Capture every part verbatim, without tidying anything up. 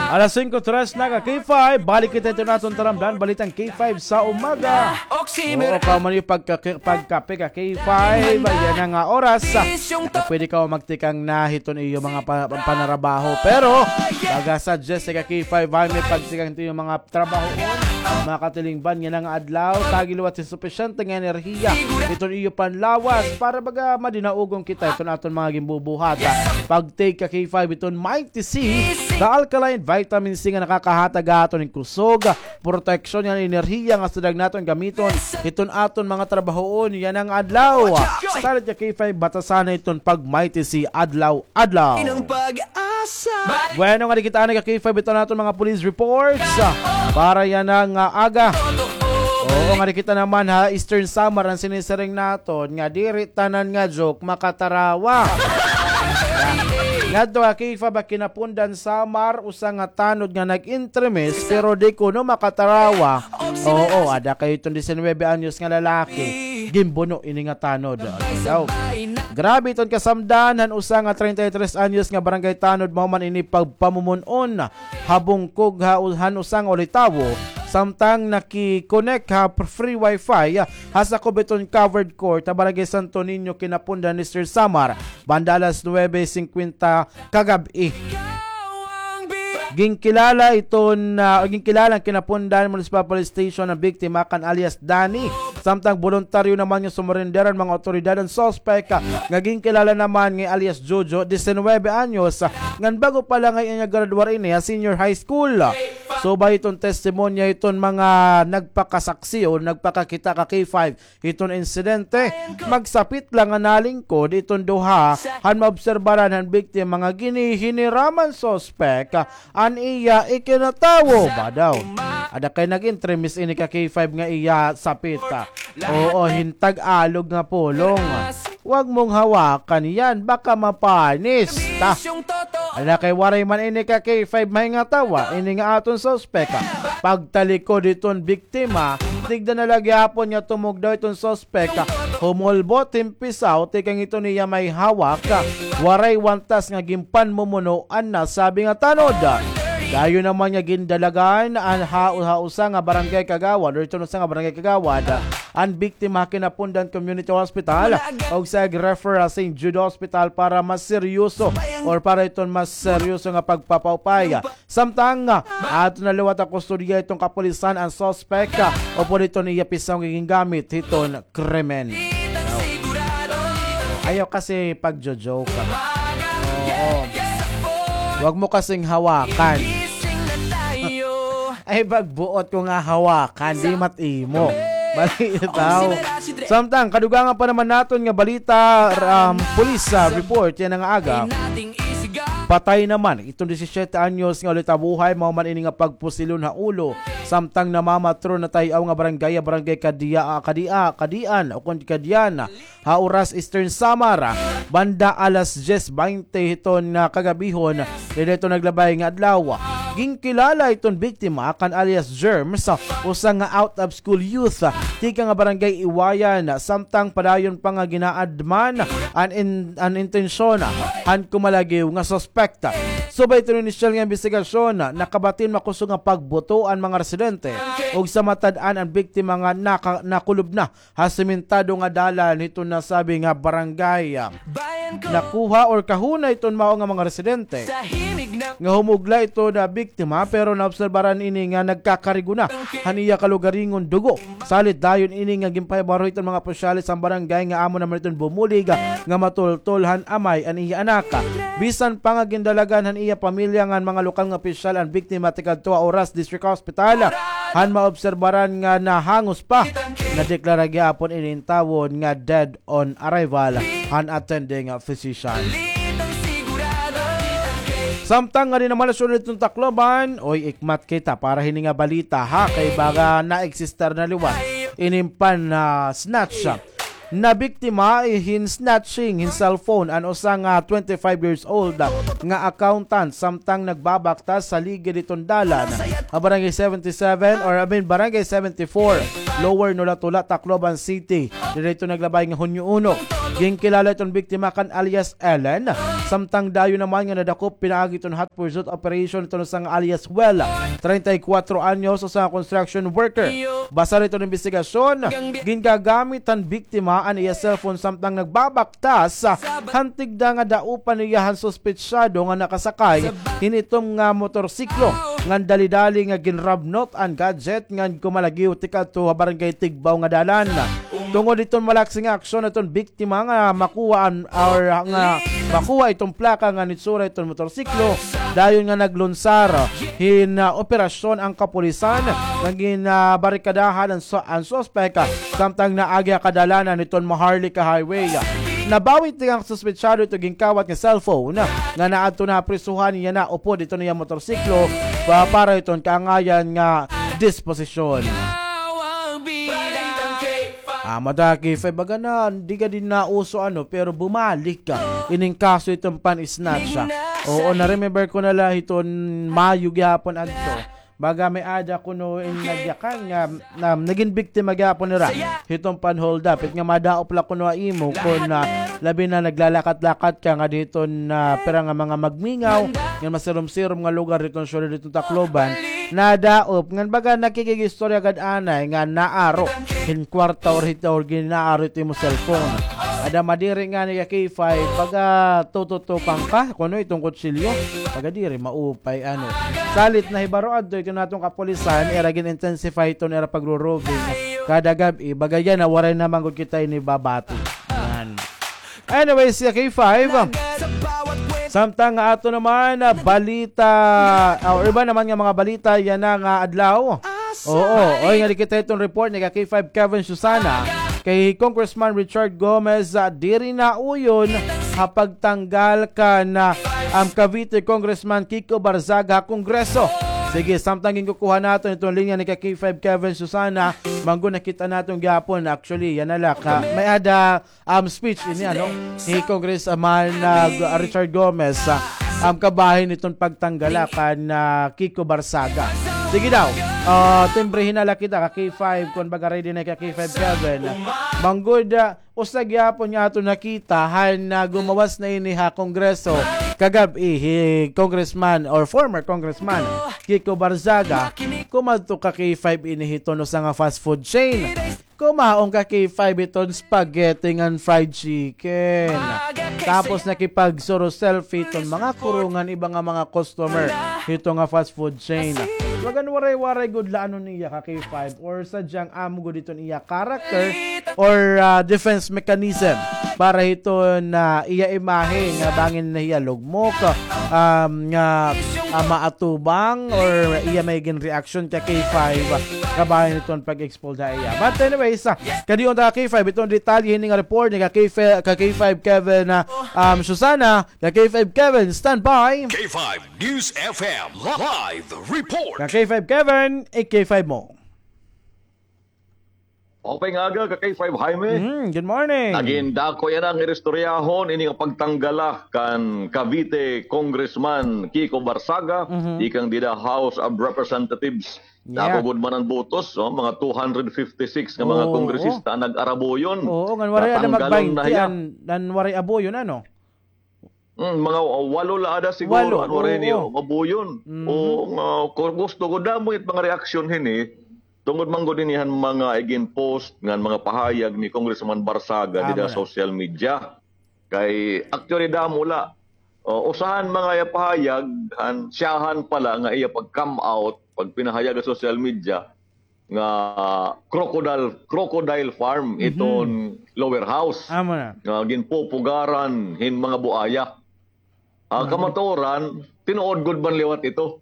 Alas singko tres na ka K five, balik kita iton aton taramdan, balitang K five sa umaga. Oo, kamo man iyo pagka-, pagkape ka K five, yana nga oras. Pwede kamo magtikang na hiton iyo mga pa-, panarabaho. Pero, baga sa Jessica K five, ay may pagtikang hiton iyo mga trabaho. Mga katilingban, yana nga adlaw, tagi liwat hin supisyente nga enerhiya hiton iyo panlawas para baga madinaugon kita hiton aton mga ginbubuhat. Pag-take ka K five hiton Mighty C, the alkaline vitamin C nga nakakahatag ha aton hin kusog, proteksyon ngan enerhiya nga sadag naton gamiton hiton aton mga trabahoon yana nga adlaw. Salit ka K five, batasan na iton pag-Mighty C adlaw-adlaw. Bueno, ngadi kita anay ka K five, ito na aton mga police reports para yana nga aga. Oo, ngadi kita naman ha Eastern Samar, an sinisiring naton nga diri tanan nga joke makatarawa. Ngadto ka K five, ha Kinapundan, Samar, usa nga tanod nga nag-entremis, pero di kuno makatarawa. Oo, ada kay iton disinuybe anyos nga lalaki. Ginbuno ini nga tanod. Daw. Grabe iton kasamdan han usa nga treinta y tres anyos nga barangay tanod, mao man ini pagpamumun-on ha bungkog ha, han usa nga ulitawo, samtang nakikonek ha free wifi ha sakob iton covered court ha Barangay Santo Niño, Kinapundan, Eastern Samar, banda alas nuwebe singkwenta kagab-i. Ginkilala iton, ah, ginkilala han Kinapundan Municipal Police Station an biktima kan alias Danny. Samtang boluntaryo naman nga sumurender an mga awtoridad, an suspek, ah, nga ginkilala naman nga alias Jojo, disinuybe anyos, ah, ngan bag-o pa la ngay-an nga graduar ini ha senior high school. Subay iton testimonya iton mga nagpakasaksi o nagpakakita ka K five, hiton insidente, magsapit la nga nalingkod iton duha han maobserbaran han biktima nga ginihiniraman suspek an iya ikinatawo. Ba daw, ada kay nag-entremis ini ka K five nga iya sapit. Oo, hin Tagalog nga pulong. Wag mong hawakan yan, baka mapanis. Ta. Ada kay waray man ini ka K five mahingatawa, ini nga aton suspek. Pagtalikod hiton biktima, biktima, tigda na la gihapon nga tumugdaw iton suspek, humulbot hin pisaw tikang iton iya may hawak, waray wantas nga ginpanmumuno an nasabi nga tanod. Dayon naman nga gindalagan an ha, ha usa nga barangay kagawad, or iton usa nga barangay kagawad, an biktima ha Kinapundan Community Hospital, ug sa ig-refer ha Saint Jude Hospital para mas seryoso, or para iton mas seryoso nga pagpapaupay. Samtang, ah, ato na liwat ha kustodiya iton kapulisan an suspek, ah, upod iton iya pisaw nga gingamit hiton krimen. Ayaw kasi pagjo-joke. Oo. Wag mo kasing hawakan. Ay, pagbuot ko nga hawakan, di mat-imo. Bali itaw. Samtang, kadugangan pa naman naton nga balita, um, police, ah, report yana nga aga. Patay naman iton disisiete anyos nga ulitabuhay, mao man ini nga pagpusilon ha ulo, samtang namamatron ha tay-aw nga barangay, barangay Kadia-, Kadia-, Kadian, ukon Kadian, ha Oras, Eastern Samar, banda alas dyes baynte hiton nga kagabihon, dida iton naglabay nga adlaw. Ginkilala iton biktima kan alias Germs, usa nga out of school youth, tikang nga barangay Iwayan, samtang padayon pa nga ginaadman an in-, an intensyon han kumalagiw nga suspek. Subay iton inisyal nga imbestigasyon, nakabatin makusog nga pagbuto an mga residente, ug sa matad-an an biktima nga naka-, nakulob na ha sementado nga dalan hiton nasabi nga barangay. Nakuha or kahuna iton mao nga mga residente nga humugla iton biktima, pero naobserbaran ini nga nagkakarigona han iya kalugaringon dugo. Salit dayon ini nga ginpahibaro hiton mga opisyales han barangay nga amo naman iton bumulig nga matultol han amay an iya anak. Bisan pa nga gindalagan han iya pamilya ngan mga lokal nga opisyal an biktima tikadto ha Oras District Hospital, han maobserbaran nga nahangos pa, nadeklara gihapon ini intawon nga dead on arrival han attending physician. Samtang ngadi naman ha siyudad hiton Tacloban, oy, ikmat kita para hini nga balita, ha, kay baga na-exist na liwat ini nga pan-, ah, snatch. Nabiktima hin snatching hin cellphone an usa nga twenty-five years old nga accountant samtang nagbabaktas sa ligid hiton dalan ha Barangay seventy-seven, or I mean Barangay seventy-four, Lower Nolatula, Tacloban City. Dida ito naglabay nga Hunyo uno. Ginkilala iton biktima kan alias Ellen. Samtang dayon naman nga nadakop pinaagi iton hot pursuit operation iton usa nga alias Well, treinta y cuatro anyos, usa nga construction worker. Basar iton imbestigasyon, gingagamit han biktima an iya cellphone samtang nagbabaktas han tigda nga daupan niya han suspetsado nga nakasakay hin itom nga motorsiklo ngan dali-dali nga ginrabnot an gadget ngan kumalagyo tikadto ha barangay Tigbao nga dalan. Tungod hiton malaksi nga aksyon hiton biktima nga makuha an, or nga makuha iton plaka ngan itsura hiton motorsiklo, dayon nga naglunsar hin, ah, operasyon an kapulisan nga ginbarikadahan an su-, an suspek, ah, samtang naagi ha kadalanan hiton Maharlika Highway. Nabawi tikang suspetsado ito ginkawat nga cellphone nga naadto na ha prisuhan, yana upod iton iya motorsiklo pa-, para hiton kaangayan nga disposisyon. Ah, mata K five, baga na, di gad ini nauso, ano, pero bumalik ka ining kaso iton pan-snatch, ah. Oo, na-remember ko na la hiton Mayo gihapon adto. Baga may-ada kuno in nagyakan nga, na, nagin biktima gihapon nira hiton pan-hold up. It nga madaop la kuno ha imo kon, ah, labi na naglalakat-lakat ka nga diton, ah, pira nga mga magmingaw, nga masirom-sirom nga lugar diton syudad diton Tacloban. Nadaop, ngan baga nakikigistorya gad anay nga naaro hin kwarta or hito or ginaaro ito imo cellphone. Ada madiri ngani ka K five, baga tututupang ka kuno iton kutsilyo. Baga diri maupay, ano. Salit nahibaro adto iton aton kapulisan, ira gin-intensify iton ira pagro-roving kada gab-i. Baga yana, waray na man gud kita ini babati. Yan. Anyways, ya K five, samtang nga ato naman, ah, balita, ah, or iba naman nga mga balita yana nga adlaw. Oo, oy, nga nakita iton report ni ka K five Kevin Susana kay Congressman Richard Gomez, ah, diri nauyon ha pagtanggal kan, ah, um, Cavite Congressman Kiko Barzaga ha Kongreso. Sige, samtang ginkukuha naton iton linya ni ka K five Kevin Susana, manggo nakita naton gihapon. Actually, yana la ka, may-ada um, speech ini, ano, ni Congressman, ah, G-, Richard Gomez, ah, um, kabahin iton pagtanggala kan, ah, Kiko Barzaga. Sige daw, ah, timbrihin na la kita ka K five, kon baga ready na ka K five Kevin. Manggod, ah, usa gihapon nga aton nakita han, ah, gumawas na ini ha Kongreso kagab-i hi Congressman or former Congressman Kiko Barzaga, kumadto ka K five ini hiton usa nga fast food chain. Kumaon ka K five hiton spaghetti ngan fried chicken. Tapos nakipagsuro-selfie hiton mga crew ngan iba nga mga customer hito nga fast food chain. Bagan waray-waray gud la ano niya ka K five or sadyang amo gud hiton iya character or, ah, defense mechanism para hiton, ah, iya imahe nga bangin na hiya lugmok, um, nga, ah, maatubang or iya may gin reaction ka K five, kabahin hiton pag-expose ha iya. But anyways, ah, kadiyon ta ka K five, iton detalye hini nga report ni ka K five, ka K five Kevin, ah, um, Susana, ka K five Kevin, stand by. K five News F M live report. Ka K five Kevin, i-K five mo. Maupay nga aga, ka K five Jaime. Mhm, good morning. Nagin dako yana nga istoryahon ini nga pagtanggala kan Cavite Congressman Kiko Barzaga, mhm, tikang dida House of Representatives. Yeah. Dako gud man an botos, no? Mga two hundred fifty-six nga mga kongresista an nag-arabuyon. Oo, ngan waray ada magbaynte an, an waray abuyon, ano? Mm, mga walo la ada siguro, walo, an waray niyo mabuyon. Mhm. O, nga, ku-, gusto ko damo it mga reaksyon hini, tungod man gud hini han mga igin-post ngan mga pahayag ni Congressman Barzaga dida social media. Kay, actually, damo la. O, usa han mga iya pahayag, han, siyahan pala nga iya pag-come out, pagpinahayag ha social media, nga crocodile, crocodile farm iton lower house. Amo na. Nga ginpupugaran hin mga buaya. Ah, kamatuoran, tinuod gud man liwat ito.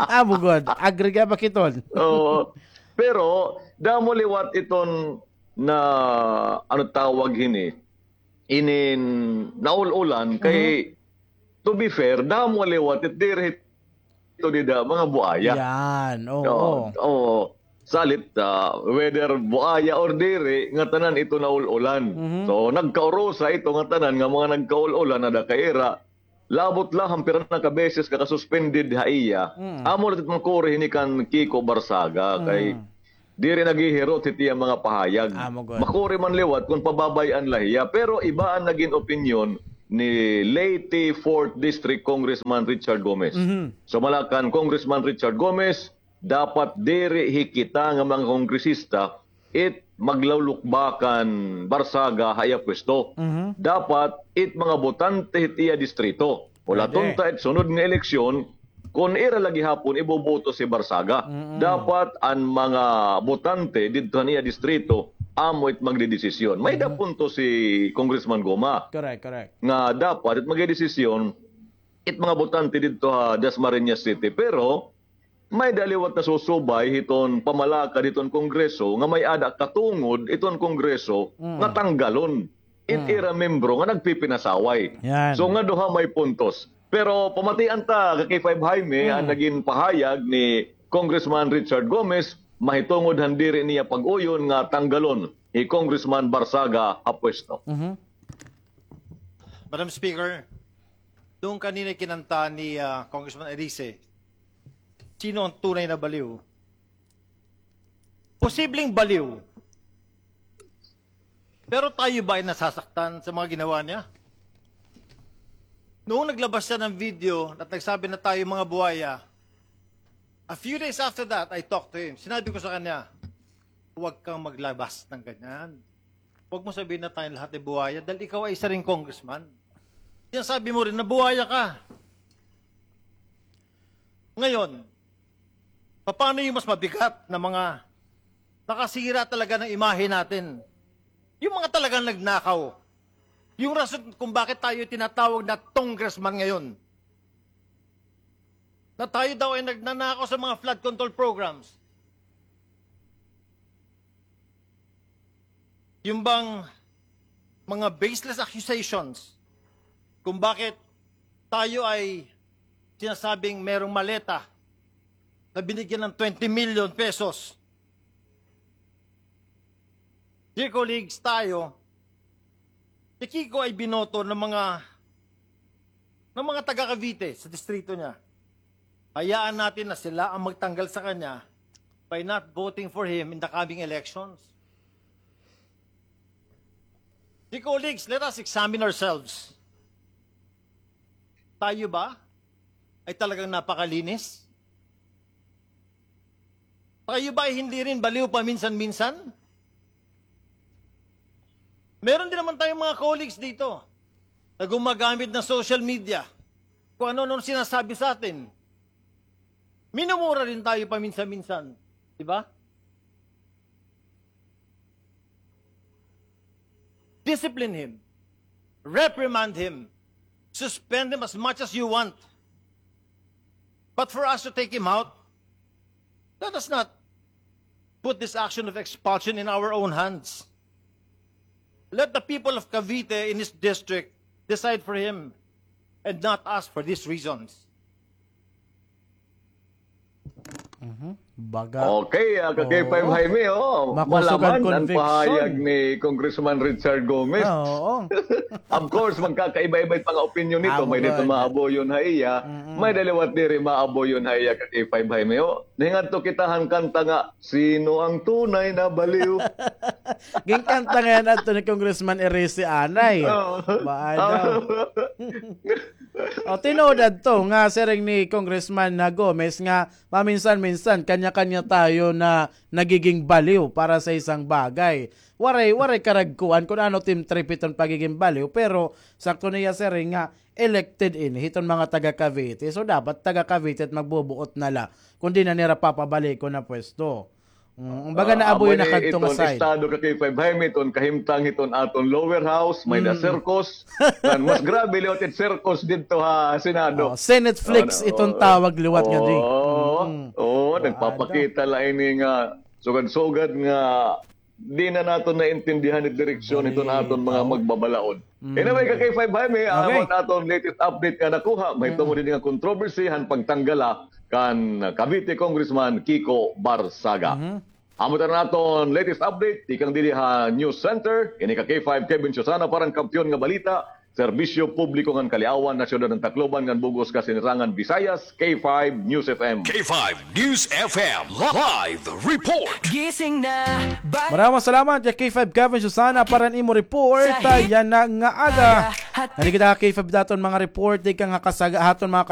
Amo gud, agree ka ba kiton? Oo. Pero, damo liwat iton na, ano tawag hini, inin naul-ulan kay, to be fair, damo liwat it diri ito dida, mga buaya. Yan, oo. Oo, oo. Salit, ah, whether buaya or diri, nga tanan ito naul-ulan. Mhm. So, nagkaurusa ito nga tanan nga mga nagkaul-ulan na da kaira, labot la han pira na ka beses ka ka-suspended ha iya. Mm. Amo la it makuri hini kan Kiko Barzaga, kay diri naghihirot hit iya mga pahayag. Amo gud. Makuri man liwat kon pababay-an la hiya. Pero iba an nagin opinyon ni Leyte fourth District Congressman Richard Gomez. Mhm. Sumala kan Congressman Richard Gomez, dapat diri hi kita nga mga kongresista it maglulukba kan Barsaga ha iya pwesto. Mhm. Dapat it mga botante hit iya distrito. Pwede. Hulaton ta it sunod nga eleksyon, kon ira la gihapon iboboto si Barsaga. Mm-mm. Dapat an mga botante didto han iya distrito, amo it magdedesisyon. May-ada punto si Congressman Goma. Correct, correct. Nga dapat it magdedesisyon, it mga botante didto ha Dasmariñas City. Pero, may-ada liwat nasusubay hiton pamalakad hiton Kongreso nga may-ada katungod iton Kongreso nga tanggalon it ira membro nga nagpipinasaway. Yan. So, nga duha may puntos. Pero pamatian ta, ka K five Jaime, an nagin pahayag ni Congressman Richard Gomez, mahitungod han diri niya pag-uyon nga tanggalon hi Congressman Barsaga ha pwesto. Mhm. Madam Speaker, doon kanina kinanta ni, ah, Congressman Erice, sino ang tunay na baliw? Posibleng baliw. Pero tayo ba ay nasasaktan sa mga ginawa niya? Noong naglabas siya ng video at nagsabi na tayo mga buhaya, a few days after that, I talked to him. Sinabi ko sa kanya, "Huwag kang maglabas ng ganyan. Huwag mo sabihin na tayong lahat ay buhaya dahil ikaw ay isa ring congressman. Yan sabi mo rin na buhaya ka." Ngayon, paano yung mas mabigat na mga nakasira talaga ng imahe natin? Yung mga talagang nagnakaw. Yung rason kung bakit tayo tinatawag na congressman ngayon. Na tayo daw ay nagnanakaw sa mga flood control programs. Yung bang mga baseless accusations kung bakit tayo ay sinasabing merong maleta na binigyan ng twenty million pesos. Dear colleagues, tayo, si Kiko ay binoto ng mga, ng mga taga Cavite sa distrito niya. Hayaan natin na sila ang magtanggal sa kanya by not voting for him in the coming elections. Dear colleagues, let us examine ourselves. Tayo ba ay talagang napakalinis? Tayo ba ay hindi rin baliw paminsan-minsan? Meron din naman tayong mga colleagues dito na gumagamit ng social media. Kung ano-ano sinasabi sa atin. Minumura rin tayo paminsan-minsan. Di ba? Discipline him. Reprimand him. Suspend him as much as you want. But for us to take him out, let us not put this action of expulsion in our own hands. Let the people of Cavite in his district decide for him and not us for these reasons. Mhm. Baga. Okay, ah, ka K five Jaime, oh. Makusog an conviction. Malaman an pahayag ni Congressman Richard Gomez. Ah, oo. Of course, magkakaiba-iba it mga opinyon nito. May dito maabuyon ha iya, may daliwat diri maabuyon ha iya, ka K five Jaime, oh. Nahingadto kita han kanta nga, "Sino ang tunay na baliw?" Ginkanta ngay-an adto ni Congressman Erice anay. Oo. Baano? O, tinuod adto nga siring ni Congressman na Gomez nga paminsan-minsan kanya-kanya tayo na nagiging baliw para sa isang bagay. Waray, waray karagkuan kun ano it im trip hiton pagiging baliw, pero sakto niya siring nga elected ini hiton mga taga Cavite. So, dapat taga Cavite it magbubuot na la kun diin na nira papabalikon na pwesto. Mm, baga naabuyon na kadto nga side. Amo ini iton estado ka K five Jaime, iton kahimtang hiton aton lower house, may-ada circus. Kan mas grabe liwat it circus didto ha Senado. Oh, Senate flicks iton tawag liwat nga di. Oo, nagpapakita la ini nga sugad-sugad nga di na naton naintindihan it direksyon hiton aton mga magbabalaod. Anyway, ka K five Jaime, amo an aton latest update nga nakuha. Mahitungod hini nga kontrobersiya han pagtanggala kan Cavite Congressman Kiko Barzaga. Amo ito an aton latest update tikang didi ha News Center. Ini ka K five, Kevin Susana para han Kampiyon nga Balita. Serbisyo Publiko ngan Kaliawan ha Syudad han Tacloban ngan bug-os nga Sinirangan Visayas, K five News F M. K five News F M live report. Gising na. Maraming salamat ya K five Kevin Susana para han imo report. Sa hit. Yana nga aga. Nani kita K five daton mga report, di ka nga kasaga-, haton mga